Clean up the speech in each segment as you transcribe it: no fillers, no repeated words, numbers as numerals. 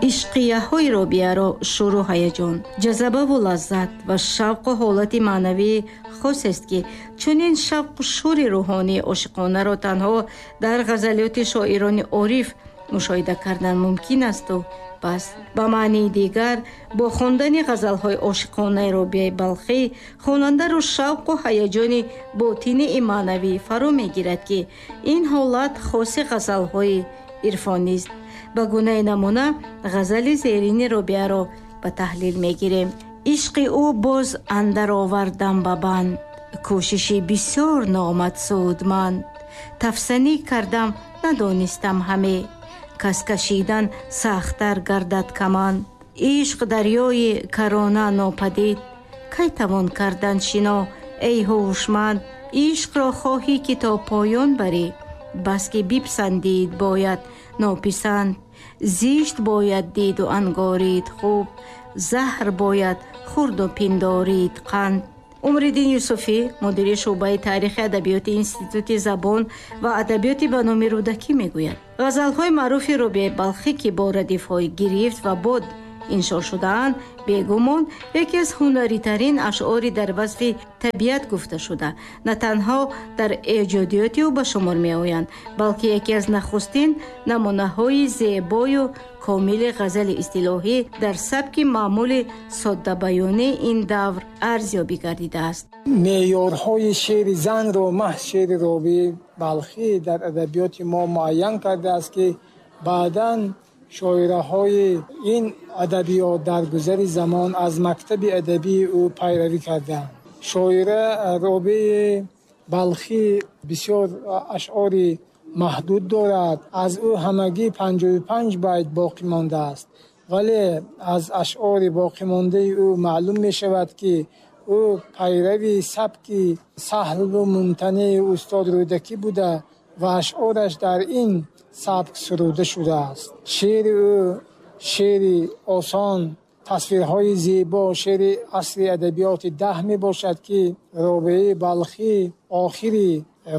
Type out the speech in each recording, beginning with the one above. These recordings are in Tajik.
Ишқияҳои Робиаро шӯру ҳаяҷон, ҷазабаву лаззат ва шавқу ҳолати маънавии хосест, ки чунин шавқу шӯри рӯҳонии ошиқонаро танҳо дар ғазалиёти шоирони ориф мушоҳида кардан мумкин асту бас. Ба маънии дигар, бо хондани ғазалҳои ошиқонаи Робиаи Балхӣ хонандаро шавқу ҳаяҷони ботинии маънавӣ фаро мегирад, ки ин ҳолат хоси ғазалҳои ирфонист. Ба гунаи намуна ғазали зерини Робиаро ба таҳлил мегирем. Ишқи ӯ боз андар овардам ба банд, кӯшиши бисёр номад судманд. Тафсанӣ кардам, надонистам ҳаме, кас кашидан сахттар гардад каманд. Ишқ дарёи карона нопадид, кай тавон кардан шино, эй ҳушманд. Ишқро хоҳӣ, ки то поён барӣ, бас ки бипасандид бояд нописанд. Зишт бояд диду ангорид хуб, заҳр бояд хурду пиндорид қанд. Умриддин Юсуфӣ, мудири шӯъбаи таърихи адабиёти Институти забон ва адабиёти ба номи Рӯдакӣ мегӯяд: ғазалҳои маъруфи Робиаи Балхӣ, ки бо радифҳои гирифт ва бод иншо шудаанд, бегумон яке аз ҳунаритарин ашъори дар васфи табиат гуфташуда на танҳо дар эҷодиёти ӯ ба шумор меоянд, балки яке аз нахустин намунаҳои зебою комили ғазали истилоҳӣ дар сабки маъмули соддабаёнии ин давр арзёбӣ гардидааст. Меъёрҳои шеъри занро маҳз шеъри Робиаи Балхӣ дар адабиёти мо муайян кардааст, ки баъдан шоираҳои ин адабиёт дар гузари замон аз мактаби адабии ӯ пайравӣ карданд. Шоира Робиаи Балхӣ бисёр ашъори маҳдуд дорад. Аз ӯ ҳамагӣ 55 байт боқӣ мондааст, вале аз ашъори боқимондаи ӯ маълум мешавад, ки ӯ пайрави сабки саҳлу мумтанеи устод Рӯдакӣ буда ва ашъораш дар ин сабк суруда шудааст. Шеъри ӯ шеъри осон, тасвирҳои зебо, шеъри асри адабиёти даҳ мебошад, ки Робиаи Балхӣ охири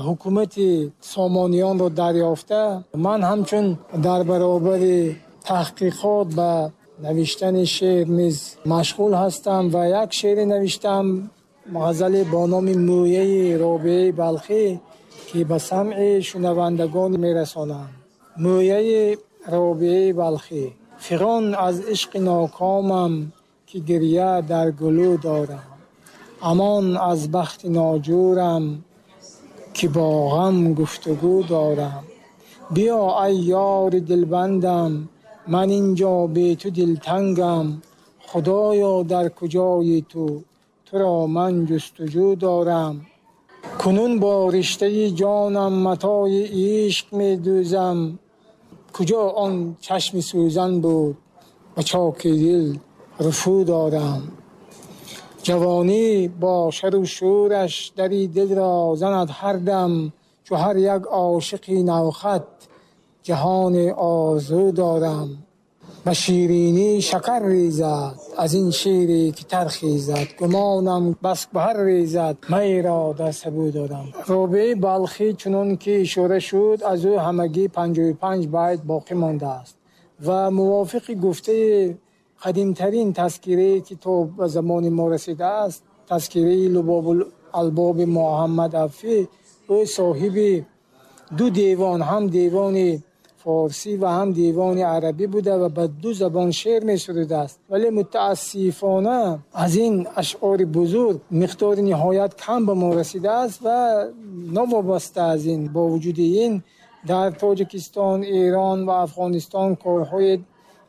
ҳукумати Сомониёнро дарёфта. Ман ҳамчун дар баробари таҳқиқот ба навиштани шеър низ машғул ҳастам ва як шеъре навиштам, ғазале бо номи Мӯяи Робиаи Балхӣ, ки ба самъи шунавандагон мерасонам. Мӯяи Робиаи Балхӣ: фиғон аз ишқи нокомам, ки гиря дар гулӯ дорам. Амон аз бахти ноҷӯрам, ки бо ғам гуфтугӯ дорам. Биё ай ёри дилбандам, ман инҷо бе ту дилтангам. Худоё, дар куҷои ту, туро ман ҷустуҷӯ дорам. Кунун бо риштаи ҷонам матои ишқ медӯзам. Куҷо он чашми сӯзан буд, ба чоки дил рафӯ дорам. Ҷавонӣ бо шару шӯраш дари дилро занад ҳар дам, чу ҳар як ошиқи навхат ҷаҳони орзу дорам. Ба ширинӣ шакар резад аз ин шире ки тархезад, гумонам бас гавҳар резад майро дар сабӯ дорам. Робиаи Балхӣ чунон ки ишора шуд, аз ӯ ҳамагӣ 55 байт боқӣ мондааст ва мувофиқи гуфтаи қадимтарин тазкирае ки то ба замони мо расидааст, тазкираи Лубобул Албоби Муҳаммад Авфӣ, ӯ соҳиби ду девон, ҳам девони форсӣ ва ҳам девони арабӣ буда ва ба ду забон шеър месурудааст. Вале мутаассифона аз ин ашъори бузург миқдори ниҳоят кам ба мо расидааст ва новобаста аз ин, бо вуҷуди ин, дар Тоҷикистон, Эрон ва Афғонистон корҳои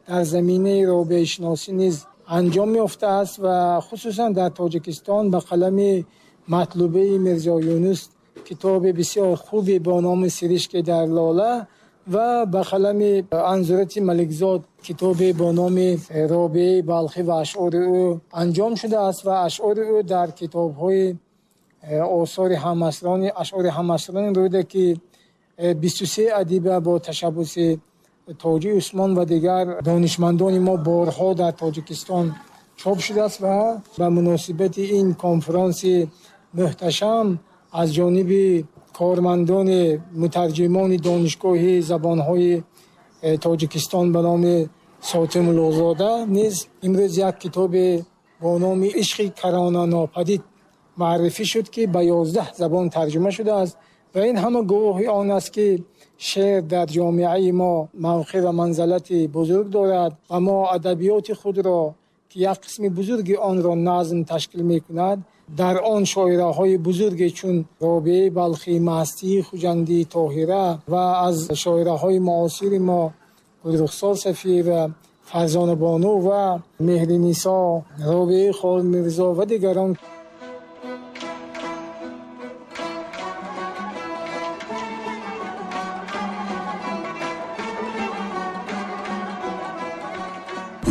дар заминаи робиашиносӣ низ анҷом ёфтааст ва хусусан дар Тоҷикистон ба қалами Матлубаи Мирзо Юнус китоби бисёр хубе бо номи Сиришки дар лола ва ба қалами Анзурати Маликзод китобе бо номи Робиаи Балхӣ ва ашъори ӯ анҷом шудааст ва ашъори ӯ дар китобҳои осори ҳамасрони, ашъори ҳамасрони Рӯдакӣ, 23 адиба бо ташаббуси Тоҷи Усмон ва дигар донишмандони мо борҳо дар Тоҷикистон чоп шудааст ва ба муносибати ин конфронси муҳташам аз ҷониби кормандони мутарҷимони донишгоҳи забонҳои Тоҷикистон ба номи Сотимуллозода низ имрӯз як китобе бо номи «Ишқи карона нопадид» муаррифӣ шуд, ки ба 11 забон тарҷума шудааст ва ин ҳама гувоҳи он аст, ки шеър дар ҷомеаи мо мавқеъ ва манзалати бузург дорад ва мо адабиёти худро, ки як қисми бузурги онро назм ташкил мекунад, дар он шоираҳои бузурге чун Робиаи Балхӣ, Мастии Хуҷандӣ, Тоҳира ва аз шоираҳои муосири мо Гулрухсор Сафиева, Фарзона Бону ва Меҳринисо, Робиаи Холмирзо ва дигарон.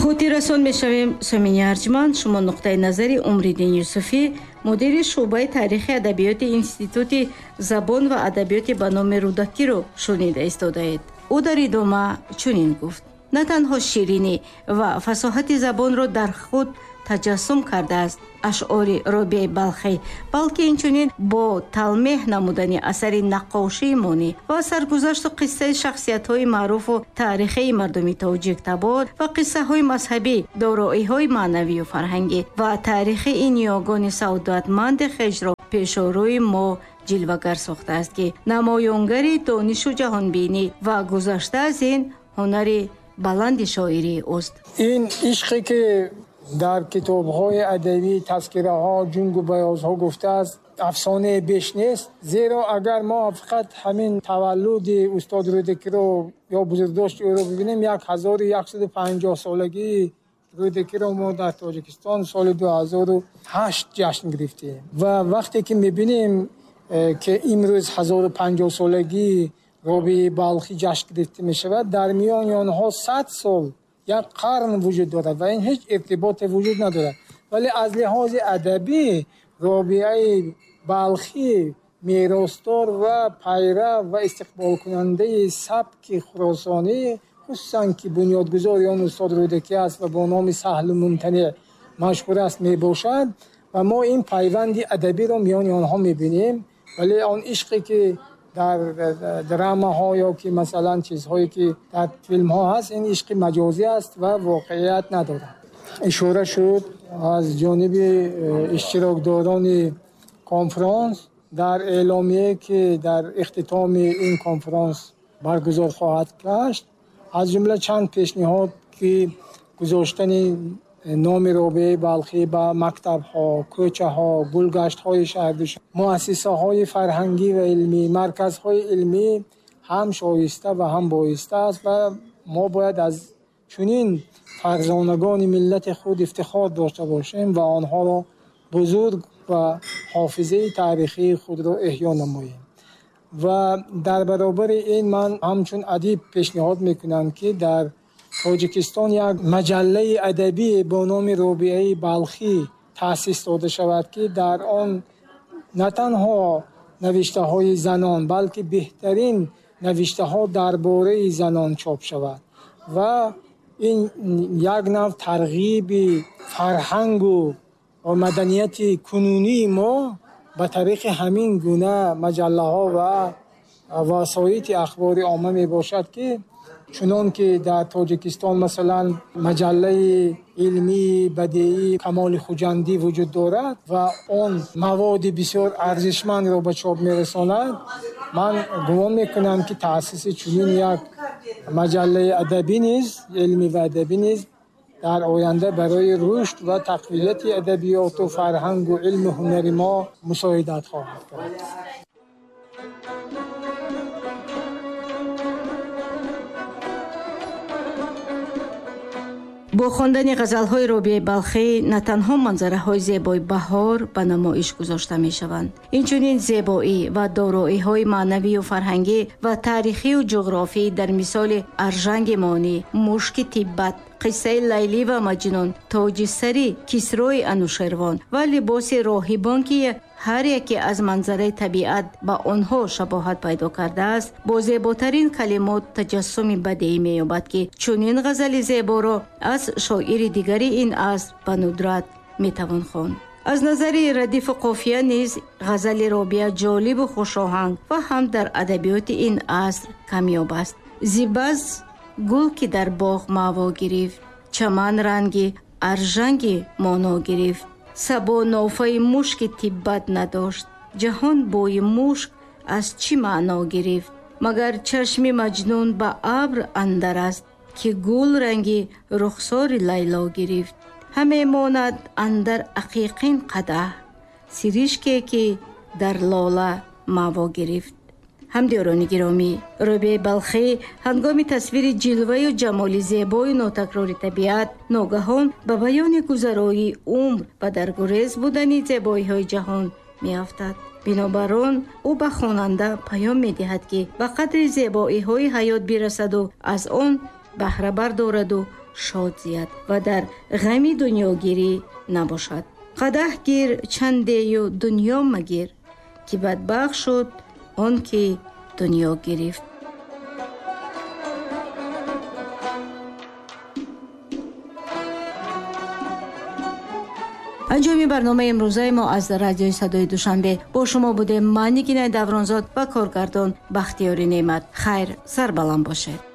Хотиррасон мешавем, сомини арҷманд, шумо нуқтаи назари Умриддин Юсуфӣ, мудири шӯъбаи таърихи адабиёти Институти забон ва адабиёти ба номи Рӯдакиро шунида истодаед. Ӯ дар идома чунин гуфт: на танҳо ширинӣ ва фасоҳати забонро дар худ таҷассум кардааст ашъори Робиаи Балхӣ, балки инчунин бо талмеҳ намудани асари наққошии монӣ ва саргузашту қиссаи шахсиятҳои маъруфу таърихии мардуми тоҷиктабор ва қиссаҳои мазҳабӣ, дороиҳои маънавию фарҳангӣ ва таърихии ниёгони саодатманди хешро пешорӯи мо ҷилвагар сохтааст, ки намоёнгари донишу ҷаҳонбинӣ ва гузашта аз ин ҳунари баланди шоирии ӯст. Ин ишқе ки дар китобҳои адабӣ, тазкираҳо, ҷунгу баёзҳо гуфтааст, афсонаи беш нест. Зеро агар мо фақат ҳамин таваллуди устод Рӯдакиро ё бузургдошти ӯро бибинем, 1150 солагии Рӯдакиро мо дар Тоҷикистон соли 2008 ҷашн гирифтем ва вақте ки мебинем, ки имрӯз 1050 солагии Робиаи Балхӣ ҷашн гирифта мешавад, дар миёни онҳо 100 сол, як қарн вуҷуд дорад ва ин ҳеҷ иртиботе вуҷуд надорад. Вале аз лиҳози адабӣ Робиаи Балхӣ меросдор ва пайрав ва истиқболкунандаи сабки хуросонӣ, хусусан ки бунёдгузори он устод Рӯдакӣ аст ва бо номи Саҳлу Мумтаниъ машҳур аст, мебошад ва мо ин пайванди адабиро миёни онҳо мебинем. Вале он ишқе ки дар драмаҳо ё ки масалан чизҳое ки дар филмҳо ҳаст, ин ишқи маҷозӣ аст ва воқеият надорад. Ишора шуд аз ҷониби иштирокдорони конфронс дар эъломие, ки дар ихтитоми ин конфронс баргузор хоҳад гашт, аз ҷумла чанд пешниҳод, ки гузоштани номи Робиаи Балхӣ ба мактабҳо, кӯчаҳо, гулгаштҳои шаҳр, муассисаҳои фарҳангӣ ва илмӣ, марказҳои илмӣ ҳам шоиста ва ҳам боиста аст ва мо бояд аз чунин фарзонагони миллати худ ифтихор дошта бошем ва онҳоро бузург ва ҳофизаи таърихии худро эҳё намоем. Ва дар баробари ин ман ҳамчун адиб пешниҳод мекунам, ки дар Тоҷикистон як маҷаллаи адабӣ бо номи Робиаи Балхӣ таъсис дода шавад, ки дар он на танҳо навиштаҳои занон, балки беҳтарин навиштаҳо дар бораи занон чоп шавад ва ин як нав тарғиби фарҳангу маданияти кунунии мо ба тариқи ҳамин гуна маҷаллаҳо ва васоити ахбори омма мебошад, ки чунон ки дар Тоҷикистон масалан маҷаллаи илмии бадеии Камоли Хуҷандӣ вуҷуд дорад ва он маводи бисёр арзишмандро ба чоп мерасонад, ман гумон мекунам, ки таъсиси чунин як маҷаллаи адабӣ низ, илмӣ ва адабӣ низ дар оянда барои рушд ва тақвияти адабиёту фарҳангу илму ҳунари мо мусоидат хоҳад кард. Бо хондани ғазалҳои Робиаи Балхӣ на танҳо манзараҳои зебои баҳор ба намоиш гузошта мешаванд, инчунин зебоӣ ва дороиҳои маънавию фарҳангӣ ва таърихию ҷуғрофӣ дар мисоли Аржанги Монӣ, Мушки Тиббат, қиссаи Лайлӣ ва Маҷнун, тоҷи сари Кисрои Анушервон ва либоси роҳибон, ки ҳар яке аз манзараи табиат ба онҳо шабоҳат пайдо кардааст, бо зеботарин калимот таҷассуми бадеӣ меёбад, ки чунин ғазали зеборо аз шоири дигари ин аср ба нудрат метавон хонд. Аз назари радифу қофия низ ғазали Робиа ҷолибу хушоҳанг ва ҳам дар адабиёти ин аср камёб аст. Зибаз Гул ки дар боғ маъво гирифт, чаман ранги аржанги моно гирифт. Сабо нофаи мушки тиббат надошт, ҷаҳон бӯи мушк аз чӣ маъно гирифт? Магар чашми Маҷнун ба абр андар аст, ки гул ранги рухсори Лайло гирифт. Ҳаме монад андар ақиқин қадаҳ, сиришке ки дар лола маъво гирифт. Ҳамдиёрони гиромӣ, Рӯбияи Балхӣ ҳангоми тасвири ҷилваю ҷамоли зебою нотакрори табиат ногаҳон ба баёни гузароии умр ва дар гурез будани зебоиҳои ҷаҳон меафтад. Бинобар он ӯ ба хонанда паём медиҳад, ки ба қадри зебоиҳои ҳаёт бирасаду аз он баҳра бардораду шод зияд ва дар ғами дунёгирӣ набошад. Қадаҳ гир чандею дунё магир, ки бадбахт шуд он ки дунё гирифт. Анҷоми барномаи имрӯзаи мо аз радиои Садои Душанбе. Бо шумо будем ман, Нигинаи Давронзод, ва коргардон Бахтиёри Неъмат. Хайр, сарбаланд бошед.